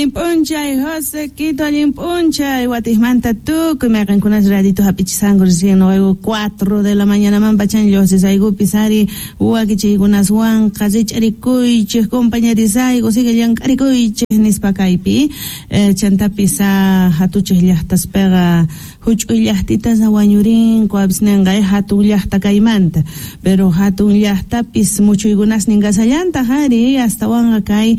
Allin p'unchay, José Quito, allin p'unchay. Watijmanta tukuy mayqenkunas radito hap'ichisanku recién noqayku 4 de la mañanaman pachan lluqsisaykupis ari wakichiykunaswanqa rich'arikuychej compañerisayku sigue llank'arikuychej nispa kaypi chantapis hatuchej llaqtaspeqa huch'uy llaqtitas wañurinku apis nenqa hatun llaqta kaymanta pero hatun llaqtapis muchuykunasnin kasallantaq ari astawanqa kay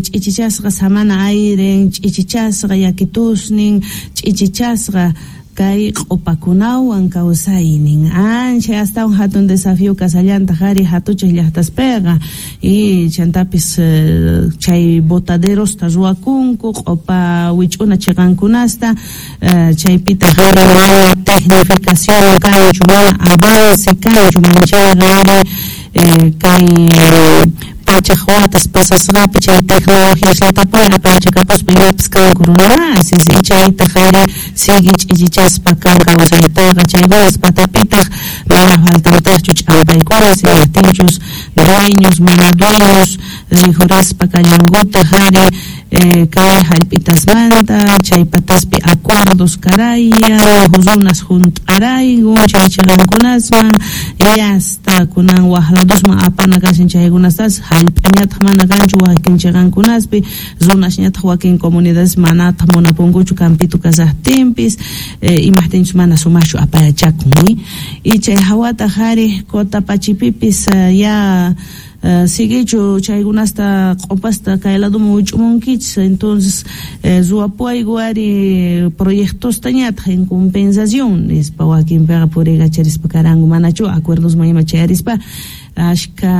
ch'ichichasqa samana ayren ch'ichichasqa yakitusnin ch'ichichasqa kay q'upakunawan kawsaynin anchay astawan hatun desafío kasallantaq ari hatuchej llaqtaspeqa y chantapis chay botaderosta ruwakunku q'upa wich'una chiqankunasta chaypitaq ari mana tecnificación kanchu mana avance kanchu manchayqa ari kay pachaj watas pasasqapi chay tecnologiasllatapuni apayachakapuspa imapis kanku runamasis y chaytaq ari sigue ch'ichichaspa kan kawsaytaqa chaykunas patapitaq mana faltantaqchu ch'ampaykunas imajtinchus dueños mana dueños rikhurispa kallankutaq ari kay hallp'itasmanta chay pataspi acuerdos karayan runas junt'arayku chay chiqankunasman y hasta kunan waj ladosman apana kashan chaykunastas hallp'añataq mana kanchu wakin chiqankunaspi runasñataq wakin comunidades manataq munapunkuchu campito kasaqtinpis imajtinchus mana sumaqchu apayachakun y chay hawataq ari Cotapachipipis ya siguichu chaykunasta q'upasta kay ladoman wich'umunkichis entonces ruwapuwayku ari proyectostañataq en compensación nispa wakinpiqa puriykacharispa karanku manachu acuerdosman ima chayarispa ashka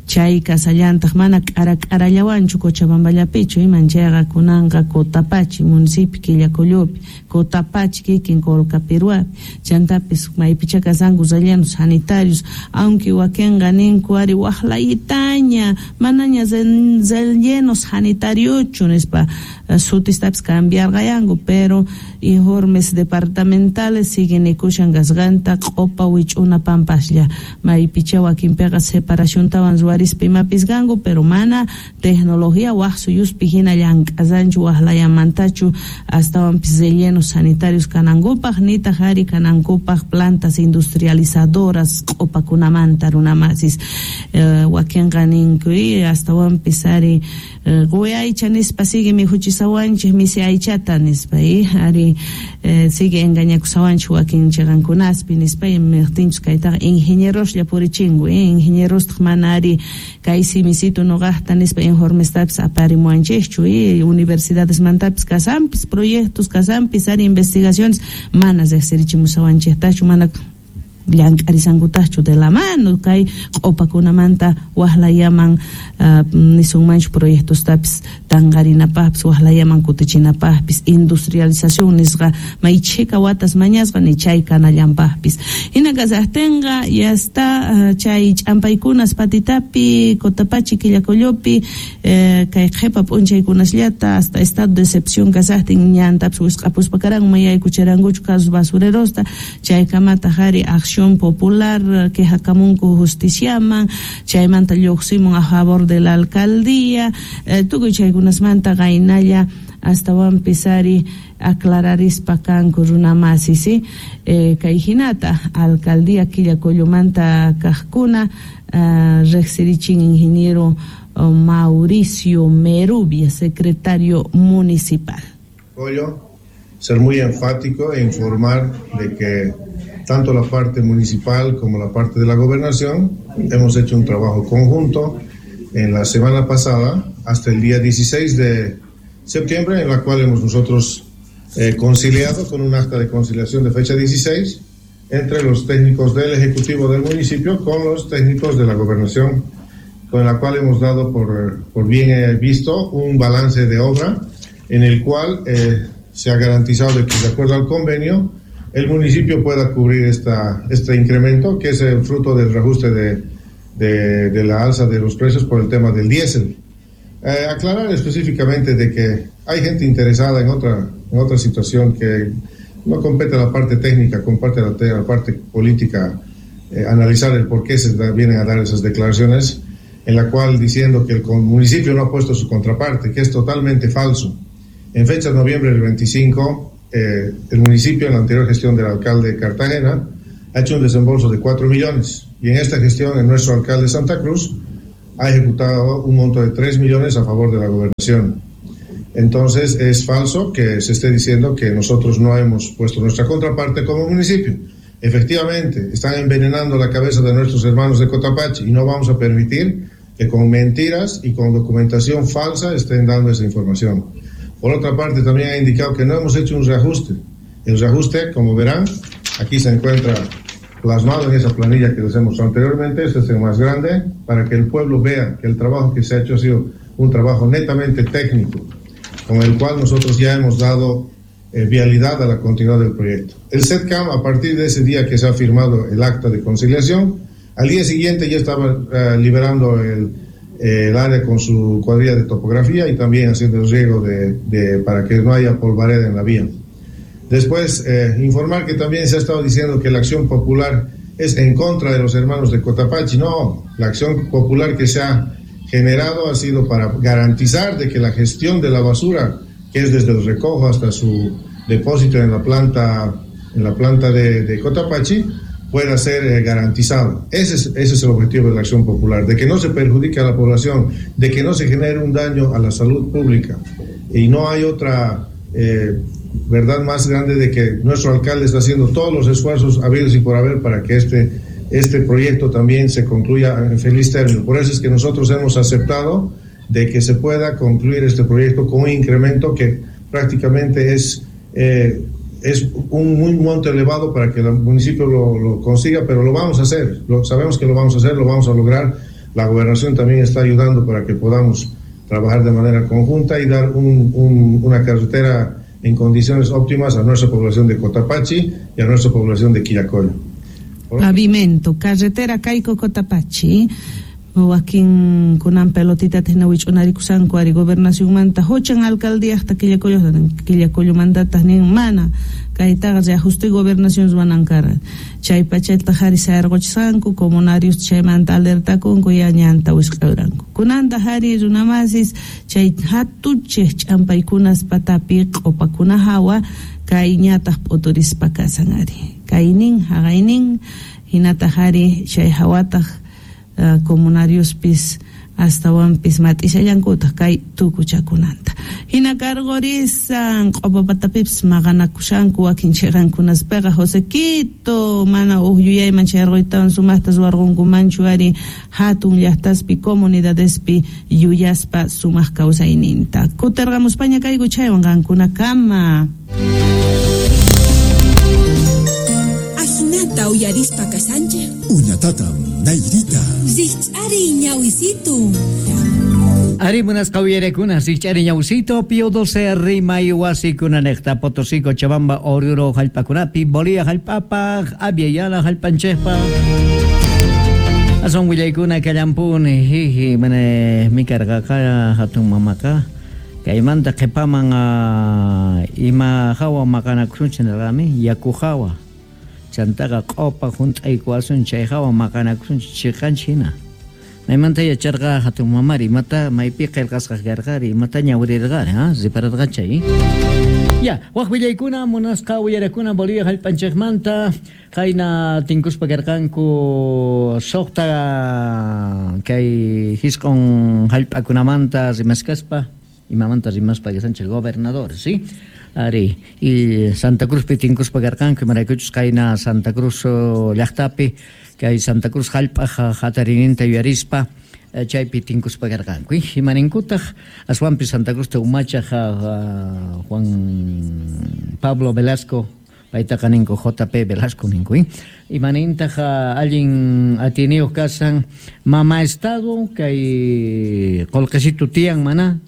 chay kasallantaq mana k'ara k'arallawanchu Cochabamballapichu iman chayqa kunanqa Cotapachi municipio Quillacollopi Cotapachi kikin Colcapiruapi chantapis maypichá kasanku rellenos sanitarios aunque wakinqa ninku ari waqlayitaña manaña relleno sanitariochu nispa sutistapis cambiarqayanku pero informes departamentales siguen nikushan kasqanta q'upa wich'una pampaslla maypichá wakinpiqa separaciontawan ruwarispa imapis kanku pero mana tecnología waj suyuspi hina llank'asanchu waqlayamantachu astawanpis rellenos sanitarios kanankupaq nitaq ari kanankupaq plantas industrializadoras q'upakunamanta runamasis wakinqa ninku astawanpis ari quwi aycha nispa sigue mikhuchisawanchik misi aychata nispa ari sigue engañakusawanchik wakin chiqankunaspi nispa imajtinchus kaytaqa ingenieroslla purichinku ingenierostaq mana ari kay simisito noqaqta nispa informestapis aparimuwanchikchu universidadesmantapis kasanpis proyectos kasanpis ari investigaciones mana riqsirichimusawanchiktachu mana llank'arisankutaqchu de la mano kay q'upakunamanta waqlayaman nisunmanchu proyectostapis tanqarinapaqpis waqlayaman kutichinapaqpis industrialización nisqa may chhika watas mañasqa ni chay kanallanpaqpis hina kasaqtinqa ya está chay ch'ampaykunas patitapi Cotapachi Quillacollopi kay qhipa p'unchaykunasllata hasta estado de excepción kasaqtin ñantapis wisq'apuspa karanku mayaykucharankuchu casos basurerosta chaykamataq ari acción popular quejakamunku justiciaman chaymanta lluqsimun a favor de la alcaldía tukuy chaykunasmanta qaynalla astawanpis ari aclararispa kanku runamasis kay hinata alcaldía Quillacollomanta kaqkuna riqsirichin ingeniero Mauricio Merubia, secretario municipal. Ser muy enfático e informar de que tanto la parte municipal como la parte de la gobernación hemos hecho un trabajo conjunto en la semana pasada hasta el día 16 de septiembre, en la cual hemos nosotros conciliado con un acta de conciliación de fecha 16 entre los técnicos del Ejecutivo del municipio con los técnicos de la gobernación, con la cual hemos dado por bien visto un balance de obra en el cual se ha garantizado de que, de acuerdo al convenio, el municipio pueda cubrir este incremento, que es el fruto del reajuste de la alza de los precios por el tema del diésel. Aclarar específicamente de que hay gente interesada en otra situación que no compete a la parte técnica, compete a la parte política, analizar el por qué se vienen a dar esas declaraciones. en la cual diciendo que el municipio no ha puesto su contraparte, que es totalmente falso. En fecha de noviembre del 25, el municipio, en la anterior gestión del alcalde de Cartagena, ha hecho un desembolso de 4 millones y en esta gestión, en nuestro alcalde de Santa Cruz, ha ejecutado un monto de 3 millones a favor de la gobernación. Entonces, es falso que se esté diciendo que nosotros no hemos puesto nuestra contraparte como municipio. Efectivamente, están envenenando la cabeza de nuestros hermanos de Cotapachi y no vamos a permitir que con mentiras y con documentación falsa estén dando esa información. Por otra parte, también ha indicado que no hemos hecho un reajuste. El reajuste, como verán, aquí se encuentra plasmado en esa planilla que les hemos mostrado anteriormente. Este es el más grande, para que el pueblo vea que el trabajo que se ha hecho ha sido un trabajo netamente técnico, con el cual nosotros ya hemos dado vialidad a la continuidad del proyecto. El SETCAM, a partir de ese día que se ha firmado el acta de conciliación, al día siguiente ya estaba liberando el área con su cuadrilla de topografía y también haciendo el riego para que no haya polvareda en la vía. Después, informar que también se ha estado diciendo que la acción popular es en contra de los hermanos de Cotapachi. No, la acción popular que se ha generado ha sido para garantizar de que la gestión de la basura, que es desde el recojo hasta su depósito en la planta de Cotapachi, pueda ser garantizado. Ese es el objetivo de la acción popular, de que no se perjudique a la población, de que no se genere un daño a la salud pública. Y no hay otra verdad más grande de que nuestro alcalde está haciendo todos los esfuerzos habidos y por haber para que este proyecto también se concluya en feliz término. Por eso es que nosotros hemos aceptado de que se pueda concluir este proyecto con un incremento que prácticamente es un monto elevado para que el municipio lo consiga, pero lo vamos a hacer, sabemos que lo vamos a hacer, lo vamos a lograr. La gobernación también está ayudando para que podamos trabajar de manera conjunta y dar una carretera en condiciones óptimas a nuestra población de Cotapachi y a nuestra población de Quillacollo. Pavimento, carretera Caico Cotapachi. Wakin kunan pelotita hina wich'unarikusanku ari gobernacionmanta huchan alcaldíaqta Quillacollomantataq nin mana kaytaqa reajuste gobernación ruwanan karqa chay pachataq ari sayarquchisqanku comunarios chaymanta alertakunku ya ñanta wisq'ayranku kunantaq ari runamasis chay hatuchej ch'ampaykunas patapi q'upakuna hawa kay ñataq p'uturispa kasan ari kaynin haqaynin hinataq ari chay hawataq comunariospis astawanpis mat'ishallankutaq kay tukuchakunanta hina karqurisan q'upapatapipis maqanakushanku wakin chiqankunaspiqa Josequito mana uj yuyayman chayarquytawan sumaqta ruwarqunkumanchu ari hatun llaqtaspi comunidadespi yuyaspa sumaq kawsayninta kutirqamuspaña kayku chaywan qankunakama. Ajinata uyarispa kasanchej Uñatatam Nairita Rich'ari ñawisito. Ari munasqa uyarekuna Rich'ari ñawisito Pío 12 Rimay wasikunanejta Potosí Cochabamba Oruro jallp'akunapi Bolivia jallp'apaj Aviala jallp'anchejpa Ason willaykuna kallampuni jiji mana mikarqaqa hatun mamaqa kaymanta qhipaman ima hawa maqanakusunchik nirqami yaku hawa chantaqa q'upa hunt'aykuwasun chay hawa maqanakusunchik chiqanchik hina maymanta yacharqa hatun mamari imata maypi qillqasqa karqari imata ñawrirqari ha ripararqa chay ya waq willaykuna munasqa uyarakuna Bolivia jallp'anchikmanta qayna tinkuspa karqanku suqta kay hisq'un jallp'akunamanta rimaskaspa imamanta rimaspa kasanchik gobernadores, ¿sí? Ari, y Santa Cruzpi tinkuspa karqanku imaraykuchus qayna Santa Cruz llaqtapi kay Santa Cruz jallp'aj hatarininta yuyarispa chaypi tinkuspa karqanku imaninkutaq aswanpi Santa Cruzta umachaj Juan Pablo Velasco paytaqa ninku JP Velasco ninku imanintaq allin atiniyuq kasan mama estado kay qullqisitu tiyan mana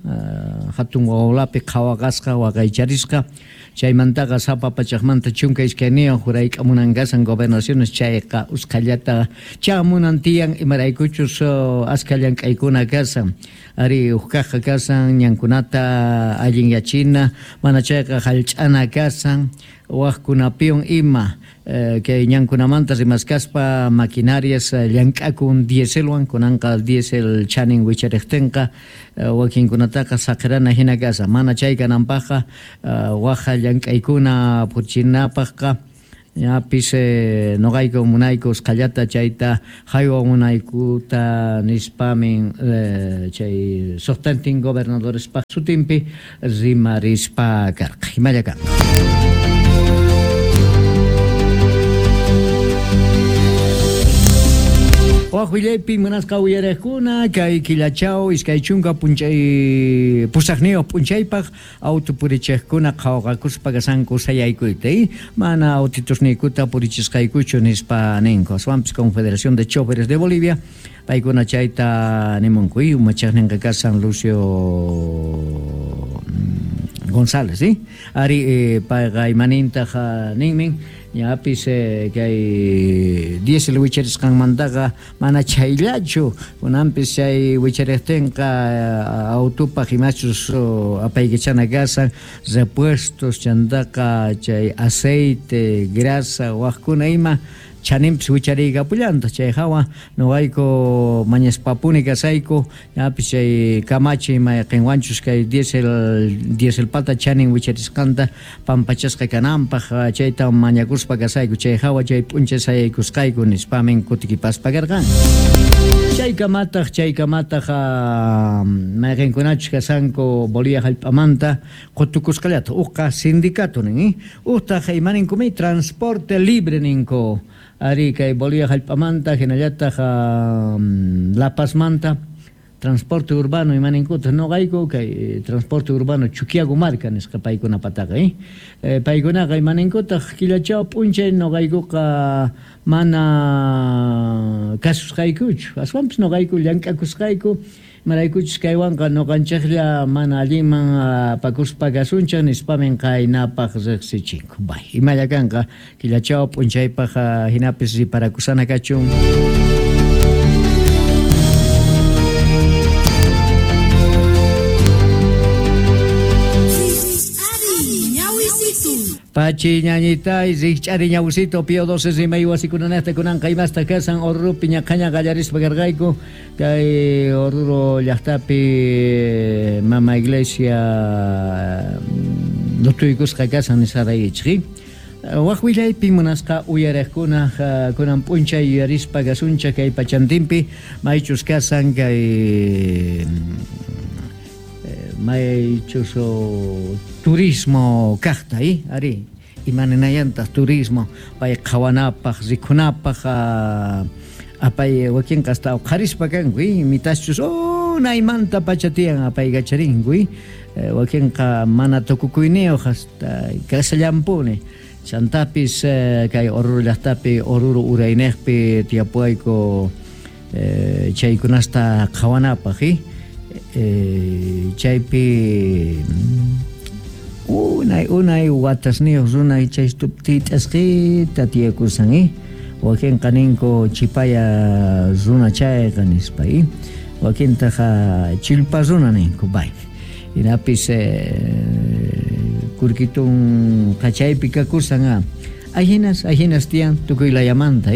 hatun wawlapi qhawaqasqa waqaycharisqa chaymantaqa sapa pachaqmanta 12 jurayk'amunan kasan gobernaciones chayqa usqhallata chamunan tiyan imaraykuchus askha llank'aykuna kasan ari uqkaqqa kasan ñankunata allinyachina mana chayqa jallch'ana kasan Wajkunapiwan ima kay ñankunamanta rimaskaspa maquinarias llank'akun dieselwan kunanqa diesel chanin wichariqtinqa wakinkunataqa saqirana hina kasa mana chay kananpaqqa waja llank'aykuna purichinapaqqa ñapis noqayku munayku usqhallata chayta haywa munaykuta nispamin chay suqtantin gobernadorespaq sutinpi rimarispa karqa imalla kanqa. Waj willaypi munasqa uyariqkuna kay killachaw 20 p'unchay pusaqniyuq p'unchaypaq auto purichiqkuna qhawaqakuspa kasanku sayaykuyta mana autitusniykuta purichisqaykuchu nispa ninku aswanpis Confederación de Choferes de Bolivia paykuna chayta nimunku umachaqninqa kasan Lucio González ari payqa imanintaq ninmin ñapis kay diesel wicharisqanmantaqa mana chayllachu kunanpis chay wichariqtinqa autopaq imachus apaykachana kasan repuestos chantaqa chay aceite grasa wajkuna ima chaninpis wichariykapullantaq chay hawa noqayku mañaspapuni kasayku ñapis chay kamachi mayqinwanchus kay dieselpata chanin wicharisqanta pampachasqa kananpaq chayta mañakuspa kasayku chay hawa chay p'unchay sayaykusqayku nispamin kutikipaspa karqan. Chaykamataq mayqinkunachus kasanku Bolivia hallp'amanta qutukusqallata uqqa sindicato nin uqtaq imaninkumi transporte libre ninku ari kay Bolivia hallp'amanta hinallataq La Pazmanta transporte urbano imaninkuta noqayku kay transporte urbano Chuquiago marca nisqa paykunapataqa paykunaqa imaninkutaq killachaw p'unchay noqaykuqa mana kasusqaykuchu aswanpis noqayku llank'akusqayku maraykuchus kaywanqa noqanchiklla mana allinman apakuspa kasunchik nispamin qaynapaq riqsichinku bay imalla kanqa killachaw p'unchaypaq hinapis riparakusana kachun. Pachi ñañitay rikch'ari ñawsito Pío 12 rimay wasikunanaqta kunanqa imasta kasan Oruropi ñaqhaña qallarispa karqayku kay Oruro llaqtapi mama iglesia lutuykusqa kasan nisqaraykichik. Waj willaypi munasqa uyariqkuna kunan p'unchay yuyarispa kasunchik kay pachantinpi maychus kasan kay maychus turismo kaqta ari imaninayantaq turismo pay qhawanapaq rikhunapaq apay wakinqa hasta uqharispa kanku mitaschus unaymanta pacha tiyan apaykacharinku wakinqa mana tukukuyniyuq hasta kasallampuni chantapis kay Oruro llaqtapi Oruro urayniqpi tiyapuwayku chaykunasta qhawanapaq chaypi unay watasniyuq runa chay tit'asqita tiyakusan wakinqa ninku chipaya runa chayqa nispa wakintaqa chillpa runa ninku bay hinapis kurkitun qachaypi kakusan ahinas tiyan tukuy layamanta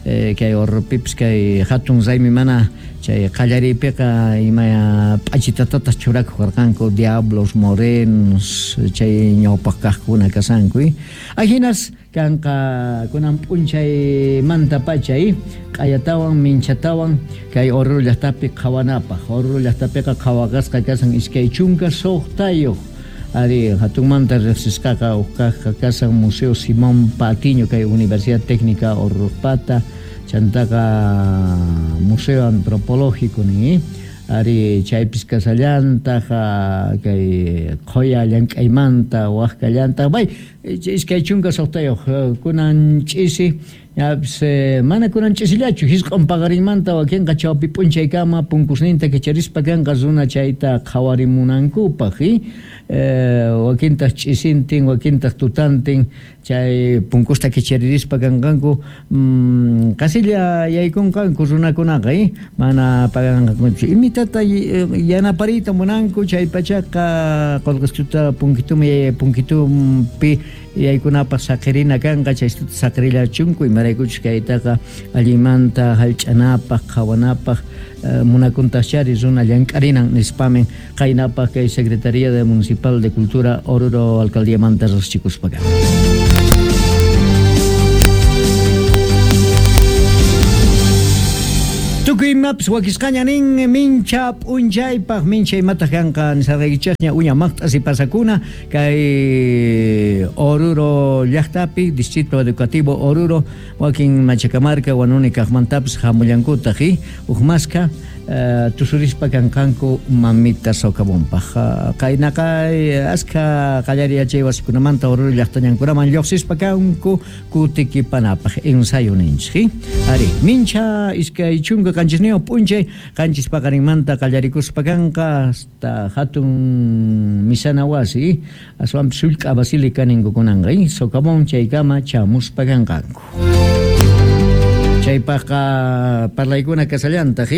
kay Orropipis kay hatun raymi mana chay qallariypiqa ima p'achitatataq churakuq karqanku diablos morenos chay ñawpaq kaqkuna kasanku ahinas kanqa kunan p'unchaymanta pacha q'ayatawan minchatawan kay Oruro llaqtapi qhawanapaq Oruro llaqtapiqa qhawaqasqa kasan 26 ari hatunmanta riqsisqaqa uq kaqqa kasan Museo Simón Patiño kay Universidad Técnica Orropata chantaqa Museo Antropológico nin ari chaypis kasallantaq kay qhuya llank'aymanta waqkallantaq bay 26 kunan ch'isi ñapis mana kunan ch'isillachu hisq'un paqarinmanta wakinqa chawpi p'unchaykama punkusninta kicharispa kanqa runa chayta qhawarimunankupaq wakintaq ch'isintin wakintaq tutantin chay punkusta kicharirispa kanqanku qasilla yaykunqanku runakunaqa mana paganqankuchu imitata yanapariyta munanku chay pachaqa qullqischuta punkitumpi Yaykunapaq saqirina kanqa chaystuta saqirillachunku imaraykuchus kaytaqa allinmanta hallch'anapaq qhawanapaq munakuntaqchari runa llank'arinan nispamin qaynapaq kay Secretaría de Municipal de Cultura Oruro Alcaldiamanta riqsichikuspa kan. Tukuy imapis wakisqaña nin mincha p'unchaypaq mincha imataq kanqa nisarqaykichikña uña maqt'asi pasakuna kay Oruro llaqtapi Distrito Educativo Oruro wakin Machacamarca Huanuni kaqmantapis hamullankutaq huk maskha tusurispa kanqanku mamita socavonpaq qaynaqa askha qallariy yachay wasikunamanta Oruro llaqtañankunaman lluqsispa kanku kutikipanapaq ensayo ninchik ari mincha 27 p'unchay qanchis paqarinmanta qallarikuspa kanqa hasta hatun misana wasi aswanpis sullk'a basílica ninkukunanqa socavón chaykama chamuspa kanqanku. Chaypaqqa parlaykuna kasallantaq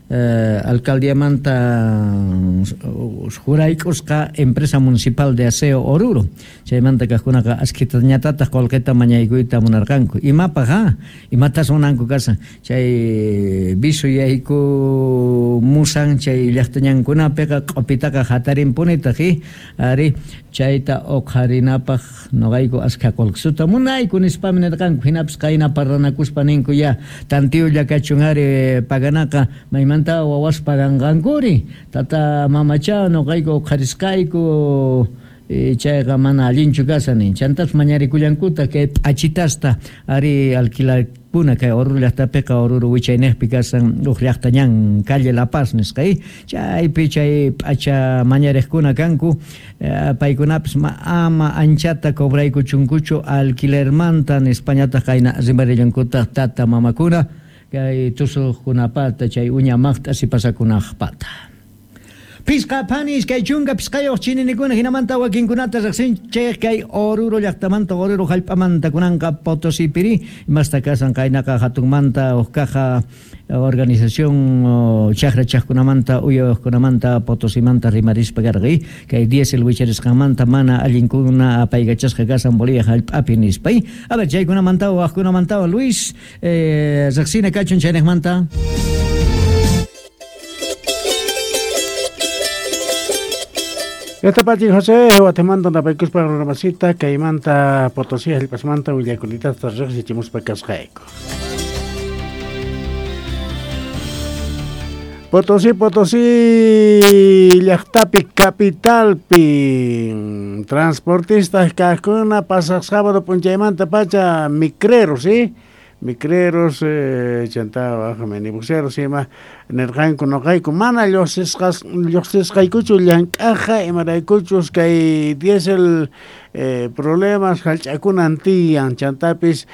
alcaldiamanta jurayk'usqa empresa municipal de aseo Oruro chaymanta kaqkunaqa askhitañatataq qullqita mañaykuyta munarqanku imapaq imatas munanku kasan chay visu yayku musan chay llaqtañankunapiqa q'upitaqa hatarinpunitaq ari chayta uqharinapaq noqayku askha qullqisuta munayku nispami nirqanku hinapis qayna parlanakuspa ninku ya tantiyulla kachun ari paganaqa maymanta wawas paganqankuri tata mamacha noqayku uqharisqayku chayqa mana allinchu kasan nin chantas mañarikullankutaq kay p'achitasta ari alquilarkuna kay Oruro llaqtapiqa Oruro wichayniqpi kasan huk llaqtañan calle La Paz nisqa chaypi chay p'acha mañariqkuna kanku paykunapis ama anchata cobraykuchunkuchu alquilermanta nispañataq qayna rimarillankutaq tata mamakuna kay tusuqkunapata chay uña maqt'asi pasakunaqpata. Pisqa panis kay chunka pisqayuq chininikuna hinamanta wakinkunata riqsinchik kay Oruro llaqtamanta Oruro hallp'amanta kunanqa Potosipiri imasta kasan qaynaqa hatunmanta huk kaja organización chaqra chaqkunamanta uyawaqkunamanta Potosimanta rimarispa karqa kay diésel wicharisqanmanta mana allinkuna apaykachasqa kasan Bolivia hallp'api nispa. A ver chaykunamanta waqkunamanta Luis riqsina kachun chayniqmanta. Esta José, Guatemala, Napaycuspa, Runamasita, Caimanta, Potosí, Hallpasmanta, Villaculita, Tarrex, Casjaico. Potosí, Potosí, llaqtapi, capitalpi, transportistas, kaqkuna, pasaq sábado, p'unchaymanta pacha, micreros, ¿sí? Micreros, chanta, minibuseros, ima, nirqanku noqayku, mana lluqsisqaykuchu llank'aqa, imaraykuchus kay diésel problemas hallch'akunan tiyan, chantapis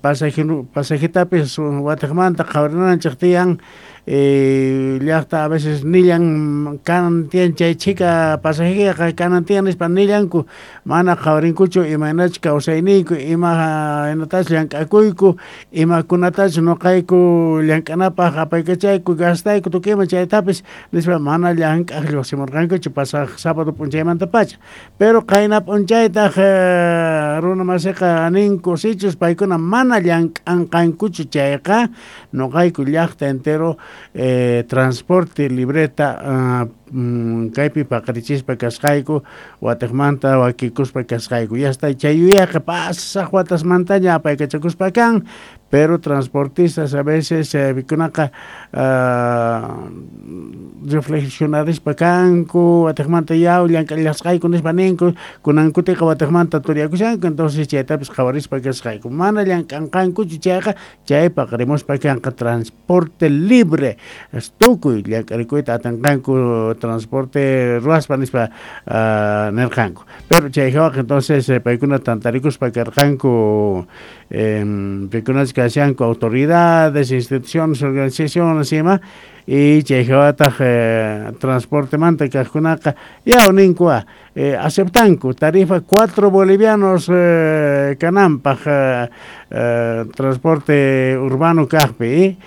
pasajetapis watiqmanta qhawarinanchik tiyan, llaqta a veces nillan kanan tiyan chay chhika pasajeqa kanan tiyan nispa nillanku mana qhawarinkuchu imaynachus kawsayniyku imaynatachus llank'akuyku imakunatachus noqayku llank'anapaq apaykachayku gastayku tukuy ima chaytapis nispa mana llank'aq lluqsimurqankuchu pasaq sábado p'unchaymanta pacha pero qayna p'unchaytaq runa masiqa ninku sichus paykuna mana llank'anqankuchu chayqa noqayku llaqta entero transporte libreta kaypi paqarichispa kasqayku watiqmanta wakikuspa kasqayku ya está chay yuyayqa pasaq watasmantaña apaykachakuspa kan pero transportistas a veces pikunaqa reflexionarispa kanku watiqmanta yaw llank'allasqayku nispa ninku kunankutiqa watiqmanta turiakushanku entonces chaytapis qhawarispa kasqayku mana llank'anqankuchu chayqa chay paqarimuspa kanqa transporte libre tukuy llank'arikuyta atinqanku transporte ruwaspa nispa nirqanku pero chay hawaqa entonces paykuna tantarikuspa karqanku pikunachu kashanku autoridades, instituciones, organizaciones ima y chay hawataq transportemanta kaqkunaqa yaw ninkua aceptanku tarifa 4 bolivianos kananpaq transporte urbano kaqpi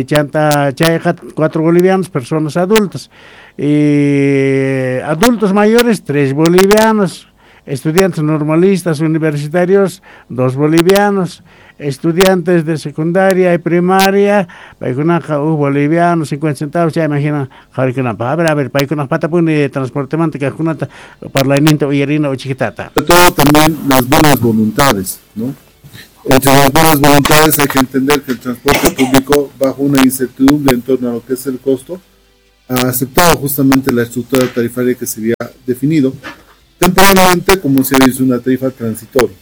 chanta chayqa 4 bolivianos personas adultas y adultos mayores 3 bolivianos Estudiantes normalistas universitarios, 2 bolivianos. Estudiantes de secundaria y primaria, paykunaqa 1 boliviano 50 centavos, chayman hina qhawarikunapaq. A ver, paykunaq patapuni transportemanta kaqkunata parlayninta uyarina uchikitata. Sobre todo también las buenas voluntades, ¿no? Entre las buenas voluntades hay que entender que el transporte público, bajo una incertidumbre en torno a lo que es el costo, ha aceptado justamente la estructura tarifaria que se había definido temporalmente como si hubiese una tarifa transitoria.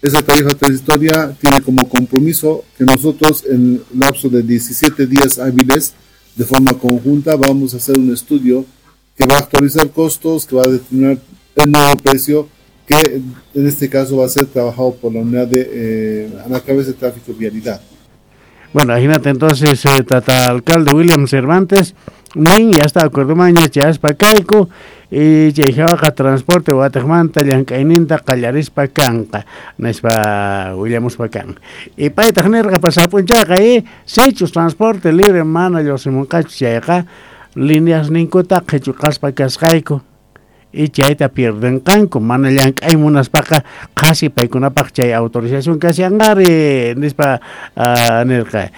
Esa tarifa transitoria tiene como compromiso que nosotros en el lapso de 17 días hábiles, de forma conjunta, vamos a hacer un estudio que va a actualizar costos, que va a determinar el nuevo precio, que en este caso va a ser trabajado por la unidad de a la cabeza de tráfico vialidad. Bueno, imagínate entonces, tata alcalde William Cervantes, nin ya está acuerdomaña chayaspa kayku y chay hawaqa transporte watiqmanta llank'ayninta qallarispa kanqa nispa willamuspa kan. Y paytaq nirqa pasaq p'unchayqa sichus transporte libre mana lluqsimunqachu chayqa líneas ninkuta qhichuqaspa kasqayku y chayta pierdenqanku mana llank'ay munaspaqa qhasi paykunapaq chay autorización kashanqari nispa nirqa.